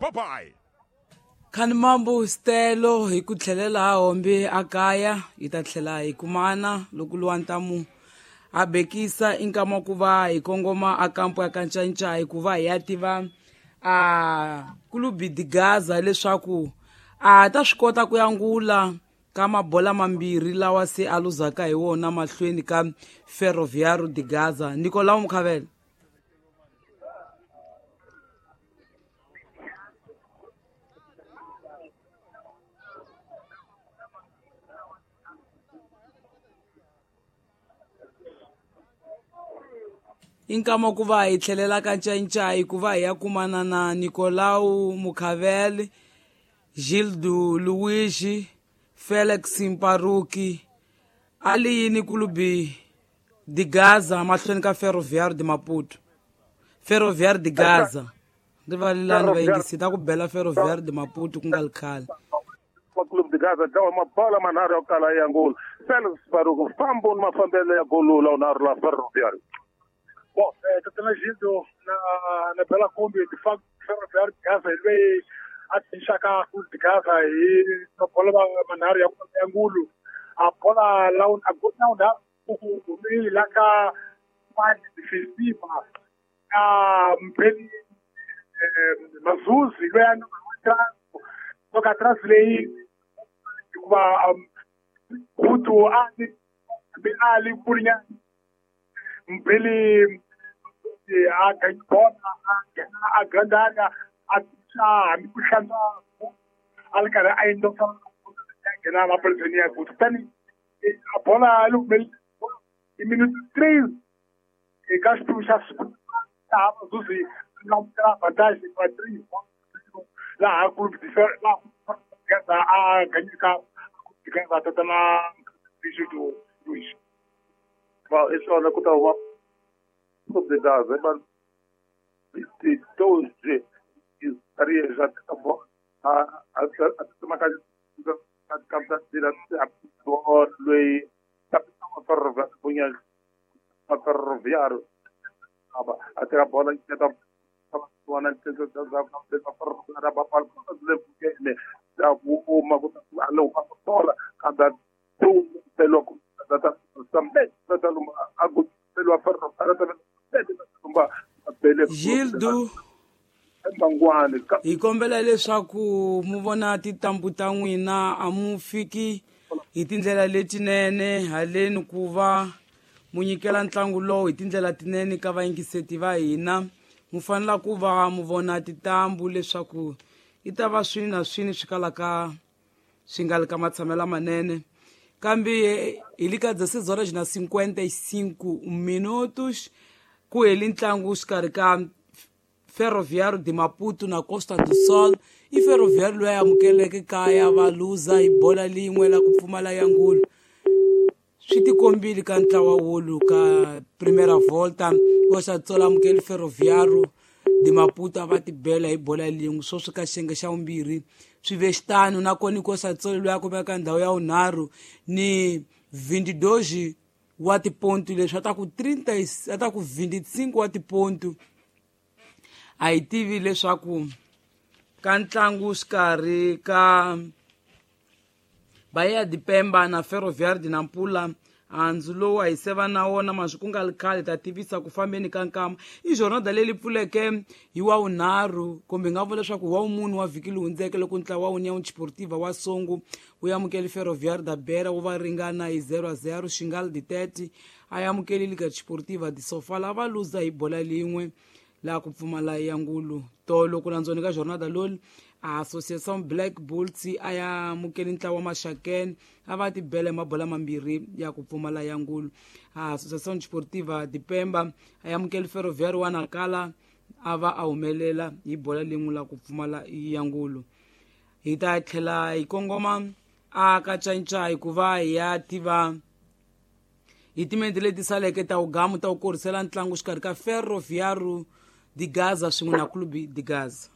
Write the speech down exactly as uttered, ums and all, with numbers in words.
Bye bye. Khani mambo Stelo hi ku tlhelela hombe a kaya hi ta tlhela hi kumana loko luwa ntamu a bekisa inkama ku va hi kongoma a kampo ya Kanchanchai ku va hi ya tiva a Clube de Gaza leswaku a ta swi kota ku yangula ka mabola mambirhi lawa se a luzaka hi wona mahlweni ka Ferroviário de Gaza. Nicolau Mukhavela. Inkama ku va hi tlhelela ka Ncayincai ku va hi ya kumana na Nicolau Mukhavele, Gildo Luigi, Felix Mparuki, ali yini Clube de Gaza mahlweni ka Ferroviário de Maputo. Ferroviário de Gaza. Rivalelani vayingisi ta ku bela Ferroviário de Maputo ku nga ri khale. Clube de Gaza dlawa mabola manharhu ya ku kala ya ngolo. Felix Mparuki fambo ni mafambelo ya golo la unharhu la Ferroviário. Bom, é, Tatana Gildo, na, na Bela Kombi, de facto, Ferroviário de Gaza, ele veio atinchar Clube de Gaza e a bola manharhu ya ngulu. A bola lá, a bola não dá, o meio lá cá mais defensiva, a Mpeli Mazuzi, ele é toca atrás lei, o ali, ali por Mpeli a bola a grande área a puxando al cara ainda na na presinia kutani a bola em minuto três e gasto já tá Mazuzi não terá vantagem para três lá a clube de lá a ganhar ganhar tá na do Luiz. Bom, isso é uma coisa Clube de Gaza, mas de doze estaria já a a a uma casa a casa de a lui capitão ferroviário ferroviário até a bola que tá Gildo hi kombela leswaku mu vona tintambu ta n'wina a mu fiki hi tindlela letinene haleni ku va mu nyikela ntlangu lowu hi tindlela tinene ka vayingiseti va hina. Mu fanela ku va mu vona tintambu leswaku i ta va swini na swini swi kalaka swi nga li ka matshamelo manene. Kambe hi le ka dezesseis horas na cinquenta e cinco minutos ku heli ntlangu xikarhi ka Ferroviário de Maputo na Costa do Sol. I Ferroviário loyi a amukeleke kaya va luza hi bola lin'we la ku pfumala ya ngulu. Swi tikombile ka ntlawa wolu ka Primeira Volta. Costa do Sol amukele Ferroviário de Maputo a va tibela hi bola lin'we sweswi ka xiyenge xa vumbirhi swi ve xitano. Nakona Costa do Sol loyi a kumeka ndhawu ya vunharhu ni vinte e dois wa tipontu leswi a ta ku trinta a ta ku vinte e cinco wa tipontu. A hi tivi leswaku ka ntlangu xikarhi ka Bahia de Pemba na Ferroviário de Nampula handzu lowu a hi seva na wona maswi ku nga ri khale ta tivisa ku fambeni ka nkama. I jornada leyi pfuleke hi wa vunharhu kumbe hi nga vula leswaku wa vumune wa vhiki lowu hundzeke loko ntlawa wa União Desportiva wa Songo wu amukele Ferroviário da Beira wu va ringana hi zero a zero. Xingal de Tete a amukele Liga Desportiva de Sofala va luza hi bola lin'we laha ku pfumala ya ngulu. Tolo ku landzoni ka jornada loli a Associação Black Bulls a ya amukeli ntlawa wa Maxakene a va tibela hi mabola mambirhi ya ku pfumala ya ngulu. A Associação Desportiva de Pemba a ya amukeli Ferroviário wa Nacala a va a humelela hi bola lin'we la ku pfumala ya ngulu. Hi ta tlhela hi kongoma a ka Ncayincai ku va hi ya tiva hi timente leti saleke ta wugamu ta ku korisela ntlangu xikarhi ka Ferroviário de Gaza swin'we na Clube de Gaza.